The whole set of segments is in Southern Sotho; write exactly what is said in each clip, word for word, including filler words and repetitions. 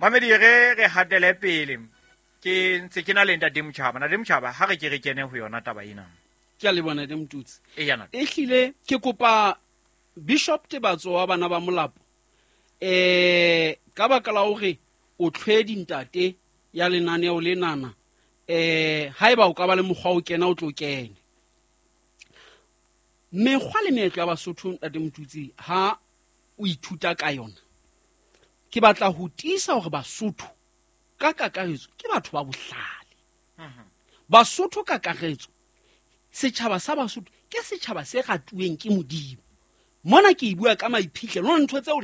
Mamedi re re hatele pele. Ke ntse ke na le Ntate Motjhaba. Ntate Motjhaba ha re ke re kene ho yona taba ena. Ke a leboha Ntate Motutsi. E yana. Ehlile ke kopa Bishop Tebatso wa bana ba Molapo. Eh ka baka la hore o tlhwedi ntate ya lenaneo lenana, eh haeba o ka ba le mokgwa o kena o tlo kene. Mekgwa le meetlo ya Basotho Ntate Motutsi ha o ithuta ka yona, ke batla ho tiisa hore Basotho ka kakaretso ke batho ba bohlale. Basotho ka kakaretso, setjhaba sa Basotho ke setjhaba se ratuweng ke Modimo. Mona ke e bua ka maiphihlelo, hona ntho tseo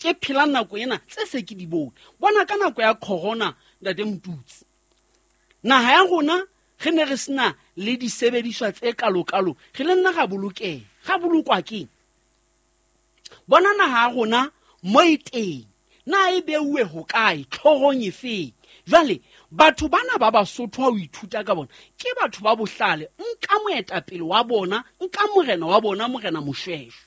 ke phelang nako ena tse se ke di bone. Bona ka nako ya corona Ntate Motutsi, naha ya rona re ne re sena le disebediswa tse kalokalo, re le nna ra bolokeha, ra bolokwa keng? Bona naha ya rona mo e teng, na e beuwe hokae, tlhorong efeng? Jwale batho bana ba Basotho ha o ithuta ka bona ke batho ba bohlale. Nka moetapele wa bona, nka morena wa bona, Morena Moshweshwe,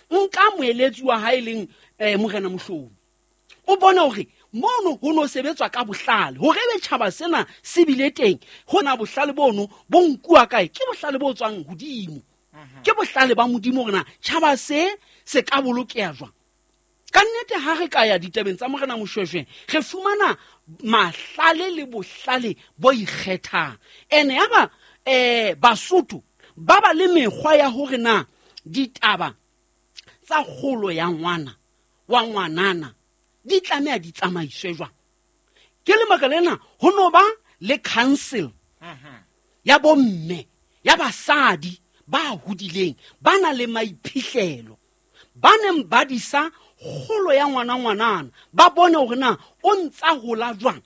nka moeletsi wa hae leng, eh, Morena Mohlomi. O bone hore mono ho no sebetswa ka bohlale hore ebe tjhaba sena se bile teng. Hona bohlale bono bo nkuwa kae? Ke bohlale bo tswang hodimo, ke bohlale ba Modimo hore na tjhaba se se ka bolokeha jwang. Ka nnete ha re ka ya ditabeng tsa Morena Moshweshwe, re fumana mahlale le bohlale bo ikgethang. Ene ya ba, eh, Basotho ba ba le mekgwa ya hore na ditaba tsa kgolo ya ngwana wa ngwanana di tlameha di tsamaiswe jwang. Ke lebaka lena ho no ba le council ya bomme, ya basadi ba hodileng, ba na le maiphihlelo, ba neng ba disa kgolo ya ngwana ngwanana, ba bone hore na o ntsa hola jwang.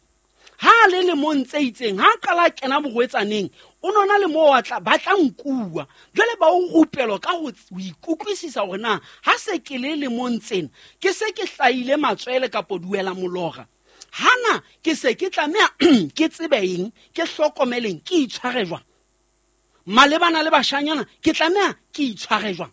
Ha a le lemong tse itseng, ha a qala a kena borwetsaneng, o nona le moo a tla, ba tla nkuwa. Jwale ba o rupelwa ka ho ts-, ho ikutlwisisa hore na ha se ke le lemong tsena, ke se ke hlahile matswele kapo duela molora. Hana ke se ke tlameha ke tsebe eng, ke hlokomeleng, ke itshware jwang. Malebana le bashanyana, ke tlameha ke itshware jwang.